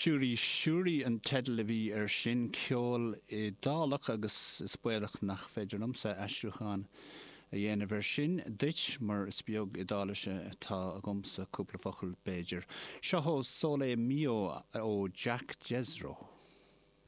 Shuri Shuri an teideal a bhí air sin, ceol Iodálach agus is baolach nach féidir liomsa aistriúchán a dhéanamh air sin duit mar is beag Iodáilise atá agamsa, cúpla focal b'fhéidir. Seo 'O Sole Mio ó Jack Jezzro.